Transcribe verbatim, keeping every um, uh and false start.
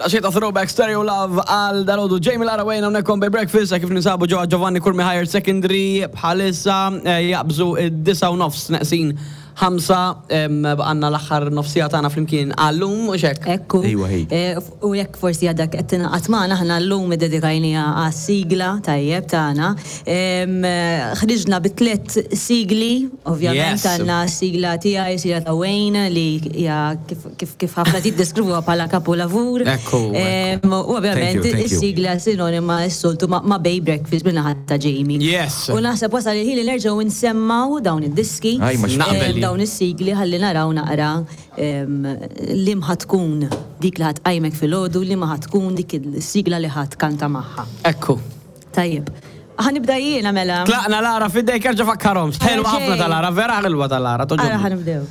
Xita throwback Stereo Love għal dalgħodu Jamie Lara Wayne hawnhekk on Bay Breakfast kif ninsabu ġewwa Giovanni Curmi Higher Secondary bħalissa eh, jaqbżu id-disgħa u nofs neqsin ħamsa em, għandna l-aħħar nofsija tagħna flimkien għallum u xek. Ekku. Ejwa, ej. Eh, f- U jekk forsi għadak qed tingħaqad magħna aħna llum iddedikajniha għas-sigla tajjeb tagħna. Em, eh, Ħriġna bi tliet sigli, ovvjament Yes. għandna sigla tiegħi, sigla ta' Wayne li hija kif kif kif ħafna tiddeskrivuha bħala kapolavur. Ekku, Em, U ovvjament Thank you, thank you. is-sigla sinonima s-soltu ma' ma' Bay Breakfast min-naħa ta' Jamie. Yes. U naħseb wasal il-ħin li nerġgħu nsemmaw dawn id-diski. Aj, ma Naqbel. Em, dawn is-sigli ħalli naraw naqra em, li ħa tkun dik li ħa tqajmek filgħodu, li ma ħa tkun dik il-sigla li ħa tkanta magħha. Ekku. Tajjeb. Ħa nibda jiena mela. Tlaqna Lara fidejk erġa' fakkarhom. Ħelwa ħafna ta' Lara, vera ħelwa ta' Lara. Ara toġobni. ħa nibdew.